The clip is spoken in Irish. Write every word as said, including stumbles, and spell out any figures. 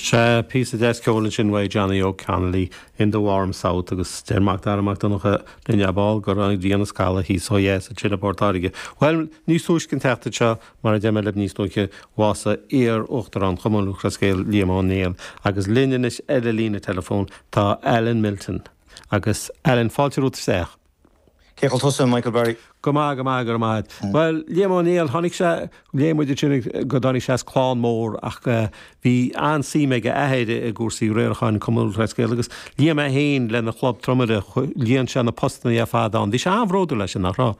Sé píosa deas ceoil ansin uaidh Johnny O'Connolly in the Warm South agus deir Mac Dara Mac Donncha linn ar ball go raibh an ghrian ag scalladh thíos ó dheas ansin i bPort Láirge. Bhuel, níos túisce an tseachtain seo mar a deir mé libh níos luaithe bhásaigh iar-uachtarán Chumann Lúthchleas Gael Liam Ó Néill agus linn anois ar an líne telefón tá Alan Milton agus Alan fáilte romhat isteach. Cén chaoi a bhfuil tusa Michael Barry. Go maith go maith go maith. Well Liam Ó Néill tháinig sé léigh muid sin go dtáinig sé as clann mór ach bhí an-suim ag a athair i gcúrsaí riaracháin Cumann Lúthchleas Gael agus Liam é féin lena chlub tromaire líon sé na postanna ar fad ann. Bhí sé an-bhródúil leis sin nach raibh.